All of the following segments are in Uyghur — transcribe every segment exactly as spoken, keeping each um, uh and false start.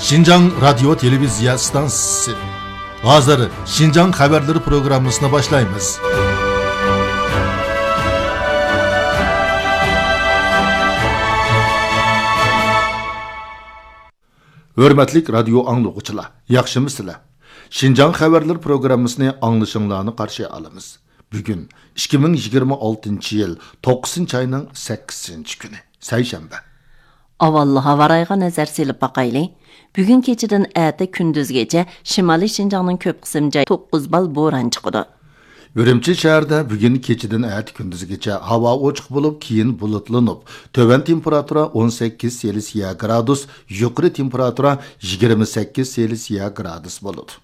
شىنجاڭ رادىيو تېلېۋىزىيە ئىستانسىسى. ھازىر شىنجاڭ خەۋەرلىرى پروگراممىسىنى باشلايمىز. ھۆرمەتلىك رادىيو ئاڭلىغۇچىلار، ياخشىمۇسىلەر؟ شىنجاڭ خەۋەرلىرى پروگراممىسىنى ئاڭلىشىڭلارنى قارشى ئالىمىز. بۈگۈن ئىككى مىڭ يىگىرمە ئالتىنچى يىل توققۇزىنچى ئاينىڭ سەككىزىنچى كۈنى، سەيشەنبە. ئاۋۋال ھاۋا رايىغا نەزەر سېلىپ باقايلى. بۈگۈن كېچىدىن ئەتە كۈندۈزگىچە شىمالىي شىنجاڭنىڭ كۆپ قىسىم جاي توققۇز بال بوران چىقىدۇ. ئۈرۈمچى شەھىرىدە بۈگۈن كېچىدىن ئەتە كۈندۈزگىچە ھاۋا ئوچۇق بولۇپ، كېيىن بۇلۇتلىنىپ، تۆۋەن تېمپېراتۇرا ئون سەككىز سېلسىيە گرادۇس، يۇقىرى تېمپېراتۇرا يىگىرمە سەككىز سېلسىيە گرادۇس بولىدۇ.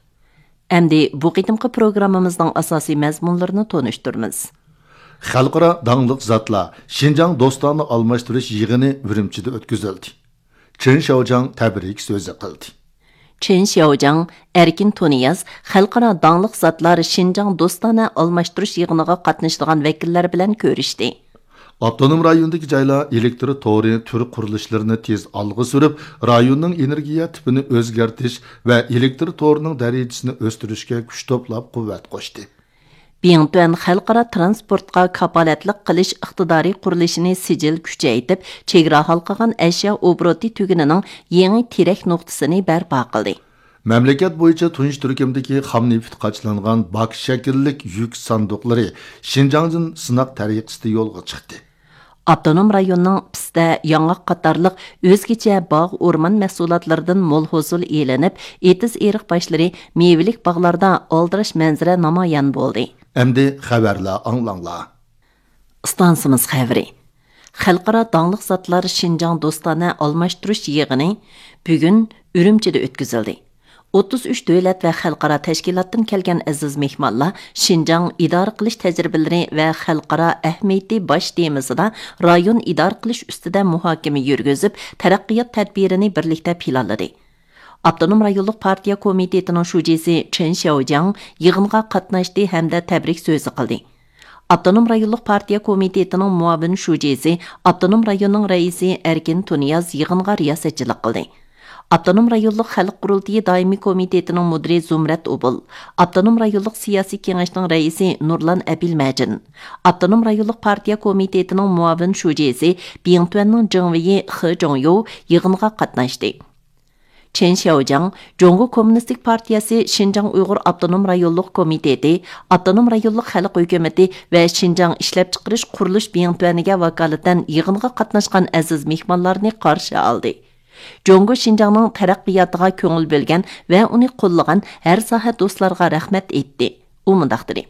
ئەمدى بۇ قېتىمقى پروگراممىمىزنىڭ ئاساسىي مەزمۇنلىرىنى تونۇشتۇرىمىز. خەلقئارا داڭلىق زاتلار شىنجاڭ دوستانە ئالماشتۇرۇش يىغىنى ئۈرۈمچىدە ئۆتكۈزۈلدى. چېن شياۋجياڭ تەبرىك سۆزى قىلدى. چېن شياۋجياڭ، ئەركىن تۇنىياز خەلقئارا داڭلىق زاتلار شىنجاڭ دوستانە ئالماشتۇرۇش يىغىنىغا قاتنىشىدىغان ۋەكىللەر بىلەن كۆرۈشتى. ئاپتونوم رايوندىكى جايلار ئېلېكتر تورى تۈر قۇرۇلۇشلىرىنى تېز ئالغا سۈرۈپ، رايوننىڭ ئېنېرگىيە تىپىنى ئۆزگەرتىش ۋە ئېلېكتر تورىنىڭ دەرىجىسىنى ئۆستۈرۈشكە كۈچ توپلاپ قۇۋۋەت قوشتى. بىڭتۈەن خەلقئارا تىرانسپورتقا كاپالەتلىك قىلىش ئىقتىدارى قۇرۇلۇشىنى سىجىل كۈچەيتىپ، چېگرا ھالقىغان ئەشيا ئوبوروتى تۈگۈنىنىڭ يېڭى تىرەك نۇقتىسىنى بەرپا قىلدى. مەملىكەت بويىچە تۇنجى تۈركۈمدىكى خام نېفىت قاچىلانغان باك شەكىللىك يۈك ساندۇقلىرى شىنجاڭدىن سىناق تەرىقىسىدە يولغا چىقتى. ئاپتونوم رايوننىڭ پىستە، ياڭاق قاتارلىق ئۆزگىچە باغ، ئورمان مەھسۇلاتلىرىدىن مول ھوسۇل ئېلىنىپ، ئېتىز ئېرىق باشلىرى، مېۋىلىك باغلاردا ئالدىراش مەنزىرە نامايان بولدى. ئەمدى خەۋەرلەر ئاڭلاڭلار. ئىستانسىمىز خەۋىرى. خەلقئارا داڭلىق زاتلار شىنجاڭ دوستانە ئالماشتۇرۇش يىغىنى بۈگۈن ئۈرۈمچىدە ئۆتكۈزۈلدى. ئوتتۇز ئۈچ دۆلەت ۋە خەلقئارا تەشكىلاتتىن كەلگەن ئەزىز مېھمانلار شىنجاڭ ئىدارە قىلىش تەجرىبىلىرى ۋە خەلقئارا ئەھمىيىتى باش تېمىسىدا رايون ئىدارە قىلىش ئۈستىدە مۇھاكىمە يۈرگۈزۈپ، تەرەققىيات تەدبىرىنى بىرلىكتە پىلانلىدى. ئاپتونوم رايونلۇق پارتىيە كومىتېتىنىڭ شۇجىسى چېن شياۋجياڭ يىغىنغا قاتناشتى ھەمدە تەبرىك سۆزى قىلدى. ئاپتونوم رايونلۇق پارتىيە كومىتېتىنىڭ مۇئاۋىن شۇجىسى، ئاپتونوم رايوننىڭ رەئىسى ئەركىن تۇنىياز يىغىنغا رىياسەتچىلىك قىلدى. ئاپتونوم رايونلۇق خەلق قۇرۇلتىيى دائىمىي كومىتېتىنىڭ مۇدىرى زۇمرەت ئوبۇل، ئاپتونوم رايونلۇق سىياسىي كېڭەشنىڭ رەئىسى نۇرلان ئەبىلمەجىن، ئاپتونوم رايونلۇق پارتىيە كومىتېتىنىڭ مۇئاۋىن شۇجىسى، بىڭتۈەننىڭ جېڭۋېيى خې جوڭيو يىغىنغا قاتناشتى. چېن شياۋجياڭ جۇڭگو كوممۇنىستىك پارتىيەسى شىنجاڭ ئۇيغۇر ئاپتونوم رايونلۇق كومىتېتى، ئاپتونوم رايونلۇق خەلق ھۆكۈمىتى ۋە شىنجاڭ ئىشلەپچىقىرىش قۇرۇلۇش بىڭتۈەنىگە ۋاكالىتەن يىغىنغا قاتناشقان ئەزىز مېھمانلارنى قارشى ئالدى. جۇڭگو شىنجاڭنىڭ تەرەققىياتىغا كۆڭۈل بۆلگەن ۋە ئۇنى قوللىغان ھەر ساھە دوستلارغا رەھمەت ئېيتتى. ئۇ مۇنداق دېدى.